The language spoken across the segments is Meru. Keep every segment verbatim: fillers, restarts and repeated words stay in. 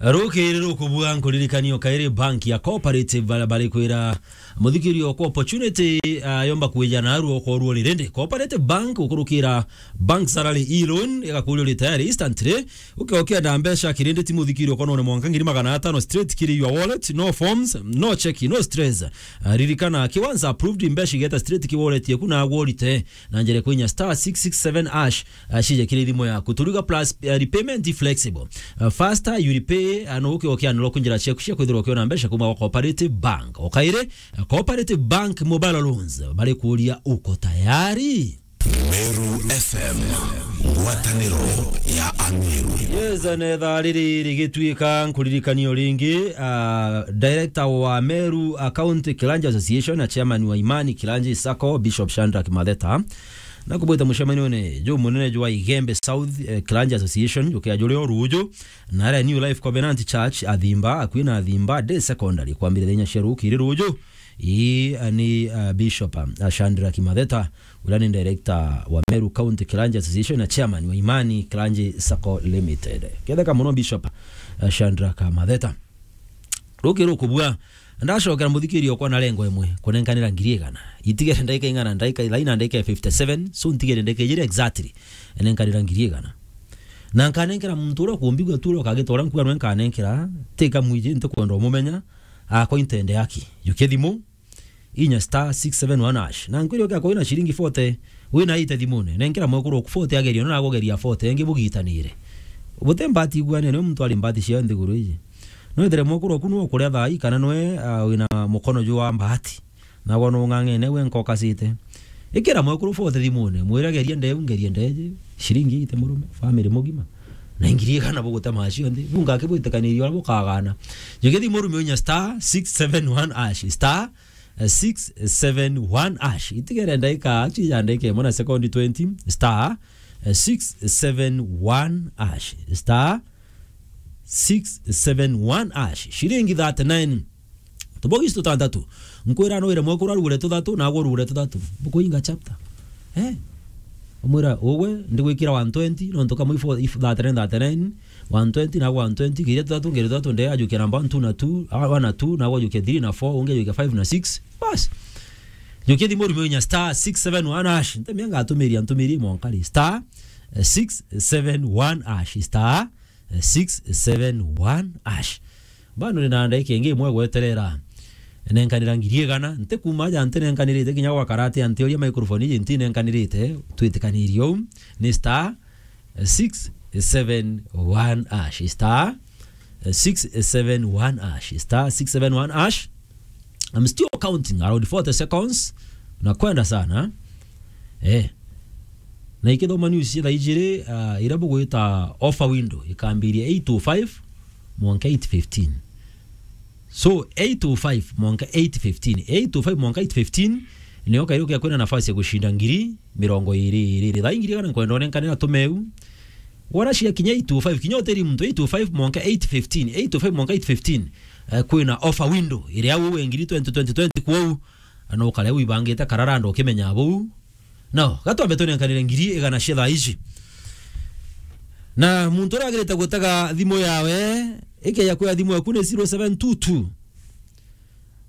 Rukiri rukubua nkuririkania o kairi bank ya Cooperative baria bari kwira muthikiri okwa opportunity, ah, yomba kwija naru okorwo ri rindi. Cooperative Bank ukurukira bank salary e-loan, igakuria uri tayari instantly. Uke ukienda mbeca kirindi ti muthikiri okonone mwanka ngiri magana atano straight kiri your wallet, no forms, no check, no stress. Ah, ririkana, ki once approved, mbeca igeta straight ki wallet yeku na agworite na njere kwinya star six six seven hash, ah, cije kiri thimu yaku. Turiga plus, ah, repayment i flexible. Ah, faster you repay, ah, no uke ukianirwa kunjira ciaku cia kwithirwa ukiona mbeca kuma kwa Cooperative Bank. O kairi, ah, Cooperative Bank Mobile Loans, bari kuria uko tayari? Meru F M, ngwataniro ya Ameru. Yes, na ithaa riri rigituika nkuririkania o ringi, ah, director wa Meru, ah, County Clergy Association na chairman wa Imani Clergy Sacco, Bishop Shadrack Matheta, na kubwita mucemanione jumunene jwa Igembe South, eh, Clergy Association, jukia juri o ruju, na aria New Life Covenant Church, Athimba, akui na Athimba Day Secondary, kwambiriria inya cia rukiri ruju. Ii, ah, ni, ah, Bishop, ah, Shadrack Matheta, uria ni director wa Meru County Clergy Association na chairman wa Imani Clergy Sacco Limited. Ketheka muno Bishop, ah, Shadrack Matheta. Ruki rukubua, ndacokera muthikiri okwa na rengo imwe, kunenkanira ngiri igana. Itigere ndaika ing'ana, ndaika ithai na ndaika ya fifty seven, so ntigere ndaika ijiri exactly, enenkanira ngiri igana. Na nkanenkera muntu uria ukumbigua tu uria ukagita uria nkuga nwe nkanenkera, tika mwiji, ntikwenda umumenya, akwa intende aki. Jukia thimu, inya star six seven one hash. Na nkwire ukia kwina ciringi forty, wina ite thimune, nenkera mwekuru oku forty ageria, nona agogeria forty, engi bugitanire. Bute mbati igwane, nwe muntu ari mbati cia nthiguru iji. Nwethire mwekuru oku nwe ukuria thaa ii, kana nwe, ah, wina mukono jwa mbati. Nagwa nung'ang'ene gwe nkokasite. Ikira mwekuru forty thimune, mwire geria ndeu, ngerie ndeje, ciringi ite murume, family mugima. Na ingiri igana bugutema cionthe. Bunga akibwitikaniria uria bukagana. Jukia thimu rume unya star six seven one hash, star six seven one hash. Itigere ndaika, actually ya ndaika imwe na sekondi twenty, star six seven one hash, star six seven one hash. Ciringi thirty-nine. Tubogi tutantatu. Nkwira no wire mwekuru arugure tuthatu, nagwe urugure tuthatu. Bukuinga chapter. Eh? Umwira, ugwe, ndigwikira one twenty, nontu kamwe ifo, if thirty-nine, thirty-nine, one twenty, nagwe one twenty, ngiria tuthatu, ngiria tuthatu, nde ajukia namba one, two na two, ah, one na two, nagwe ajukia three na four, ungi ajukia five na six. Bas. Jukia thimu rume unya star six seven one hash. Ntemia ngatumiria, ntumirie mwankari. Star, eh, six seven one hash. Star, eh, six seven one hash. Bado nina ndaika ingi imwe gweterera. Nenkanira ngiri igana, nti kuma aja nti nenkanirite kinya gwa karate, anti uria microphone iji nti nenkanirite, twitikanirie uu, ni star six seven one hash, star six seven one hash, star six seven one hash. I'm still counting around forty seconds. Na kwenda sana. Eh. Na ikithoma news cia thaa ijiri, ah, iria bugwita offer window, ikambiria eight oh five mwanka eight fifteen. So, eight oh five mwanka eight fifteen. Eight oh five mwanka eight fifteen, nio kairi ukia kwina nafasi ya gushinda ngiri mirongo iri, iri, iri. Thaa ingiri kana nkwenda unenkanira tumeu. Wona cia kinya eight oh five, kinya utiri muntu eight oh five mwanka eight fifteen, eight oh five mwanka eight fifteen, eh, kwina offer window, iria au we ngiri twenty twenty twenty kwou, na ukare wibangite kararanda ukimenya buu. No, gatwambe tunenkanire ngiri igana cia thaa ici. Na muntu uria agirite gutega thimu yawe, ikeja kwia thimu yaku ni zero seven two two.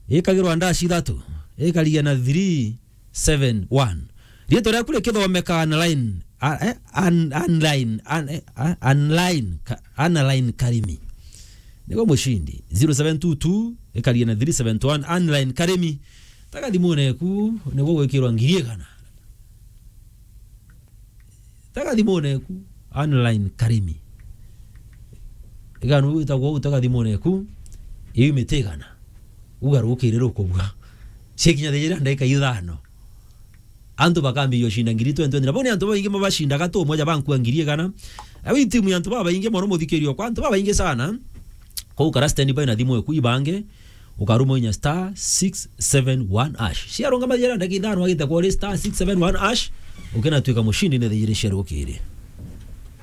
Ikagirwa ndashi ithatu, ikarigia na three seven one. Riitwa riaku rikithomeka online, a-, eh, an-, online, an-, eh, a-, online, ka-, online Karimi. Niguo mushindi. Zero seven two two, ikarigia na three seven one, online Karimi. Taga thimune eku, niguo gwikirwa ngiri igana. Taga thimune eku, online Karimi. Igana witagwo uu, taga thimune eku, iu miti igana. Uga rukiri rukubua. Cikinya thijira ndaika ithano. Antu bakambia ushinda ngiri twenty twenty. Na bau ni antu babaingi mabashindaga tu, moja bankua ngiri igana. Au i timu ya antu babaingi mono muthikirio kwa antu babaingi sana. Kou kara standby na thimu eku ibange, ukaruma inya star six seven one hash. Ciarungama jera ndagika ithano agite kwa uri star six seven one hash, ukinatuika mushindi ni thijiri cia rukiri.